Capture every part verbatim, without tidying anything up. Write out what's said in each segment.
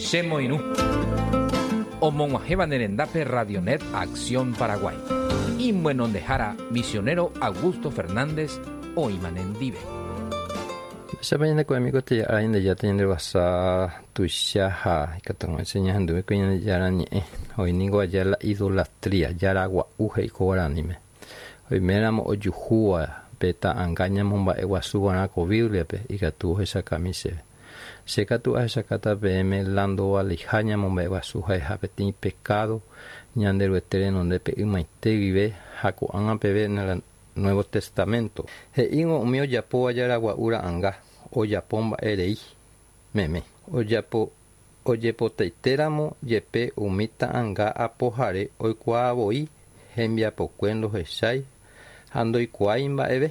Chemoirũ. Omog̃uahẽva ne rendápe Radionet Acción Paraguay. Imyenondehára misionero Augusto Fernández oĩma nendive. Mba'éichapa ñandekuaami ko ára Ñandejára ñanderovasa tuicha ha ikatu hag̃uáicha ñahenduve ko Ñandejára ñe'ẽ oĩ ningo aja la idolatría jaragua'u he'i ko guaraníme oiméramo ojuhúva pe ta'anga ñamomba'eguasuva'erã ko Bibliape ikatu ohechakami chéve che katu ahechakáta peẽme la ndovaleiha ñamomba'eguasu ha'eha peteĩ pecado Ñanderuete renondépe ymaite guive ha ko'ág̃a peve en el Nuevo Testamento he'ívo umi ojapóva jaragua'u ra'anga ojapo mba'erei meme ojapo ojepotaitéramo jepe umi ta'anga apohare oikuaavoi hembiapokue ndohechái ha ndoikuaái mba'eve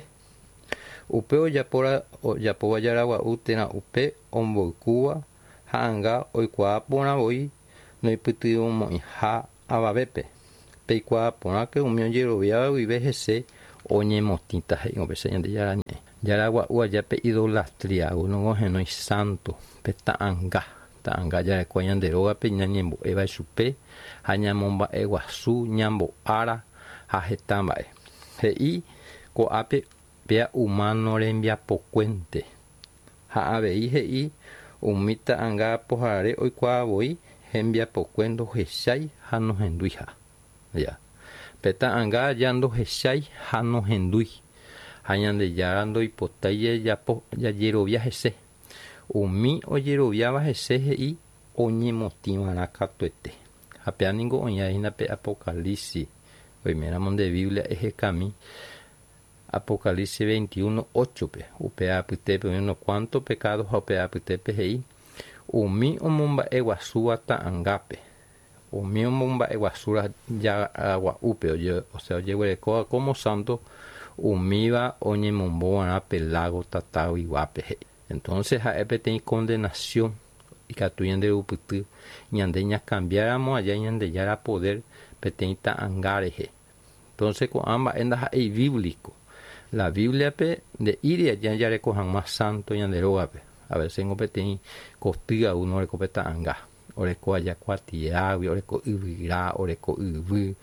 upe ojapóra ojapóva jaragua'u térã upe omboykúva ha'anga oikuaa porã voi noipytyvõmo'ãiha avavépe peikuaa porãke umi ojeroviáva guive hese oñemotĩta he'i upéicha Ñandejára ñe'ẽ jaragua'u aja pe idolatría onohenói santo pe ta'anga ta'anga jarekóva ñande rógape ñañembo'éva chupe ha ñamomba'eguasu ñambo'ára ha heta mba'e he'i ko'ápe péa humano rembiapokuénte ha avei he'i umi ta'anga apohare oikuaa voi hembiapokue ndohechái ha nohenduiha ya pe ta'anga aja ndohechái ha nohendúi ha Ñandejára ndoipotái jajapo jajerovia hese umi ojeroviáva hese he'i oñemotĩva'erã katuete ha péa ningo oĩhína pe Apocalipsis oiméramo nde Biblia ehekami Apocalipsis veintiuno ocho-pe upe apytépe oĩ unos cuantos pecados ha upe apytépe he'i umi omomba'eguasúva ta'angápe umi omomba'eguasúva jaragua'úpe oje, o sea ojeguerekóva como santo umíva oñemombova'erã pe lago tataguiguápe he'i entonces ha'e peteĩ condenación ikatu ñanderupyty ñande ñacambiáramo aja Ñandejára poder peteĩ ta'anga rehe entonces ko'ã mba'e ndaha'éi bíblico la Bibliape nde'íri aja jareko hag̃ua santo ñande rógape a veces ngo peteĩ koty uno oreko pe ta'anga oreko aja kuatiágui oreko yvyra oreko yvy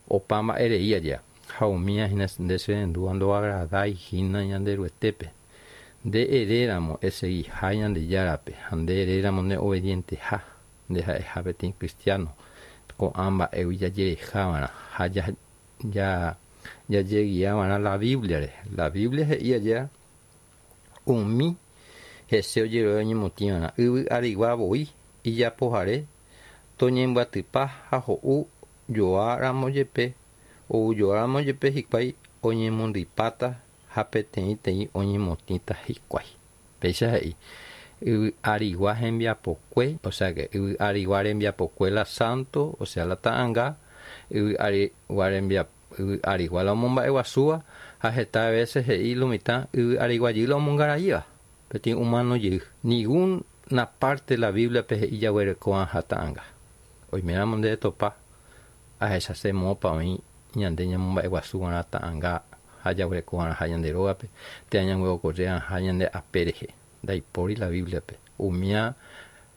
opa mba'erei aja ha umía hína nde cherendúva ndoagradaihína Ñanderuetépe nde eréramo eseguiha Ñandejárape ha nde eréramo nde obedienteha nde ha'eha peteĩ cristiano ko'ã mba'égui jajerejava'erã ha ja ja jajeguiava'erã la Biblia-re la Biblia he'i aja umi hese ojerovia oñemotĩva'erã yvy arigua voi ijapohare toñembyatypa ha ho'u joáramo jepe oujoáramo jepe hikuái oñemondyipáta ha peteĩteĩ oñemotĩta hikuái péicha he'i yvy arigua hembiapokue o sea que yvy arigua rembiapokue la santo o sea la ta'anga yvy arigua rembiapo yvy arigua la omomba'eguasúva ha heta veces he'i lo mitã yvy arigua jey la omongaraíva peteĩ humano jey ninguna parte la Biblia-pe he'i jaguereko'ãha ta'anga oiméramo nde topa ahechase moõpa oĩ ñande ñamomba'eguasuva'erã ta'anga ha jaguerekova'erãha ñande rógape térã ñanguerokore'ãha ñande ape rehe ndaipóri la Biblia-pe umía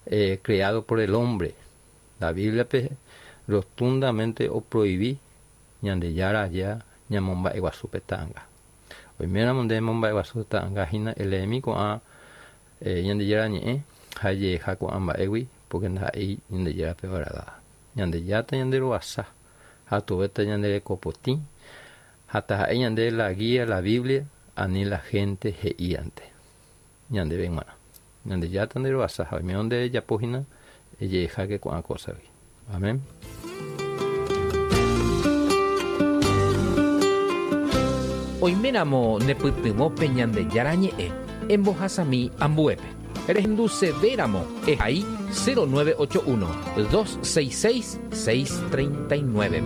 eh, creado por el hombre la Biblia-pe rotundamente oprohibi Ñandejára aja ñamomba'eguasu pe ta'anga oiméramo nde momba'eguasu ta'anga hína eleemi ko'ã eh, Ñandejára ñe'ẽ ha jeheja ko'ã mba'égui porque ndaha'éi Ñandejárape oagradaba Ñandejára ñanderovasa ha tuvéta ñanderekopotĩ ha taha'e ñande la guía la Biblia ani la gente he'íante ñandéve g̃uarã Ñandejára nderovasa ha oimérõ nde rejapo hína ejehejáke ko'ã cosagui amén. Oiméramo nepytyvõ pe Ñandejára ñe'ẽ embohasami ambuépe rehendusevéramo ehai cero nueve ocho uno dos seis seis seis treinta y nueve.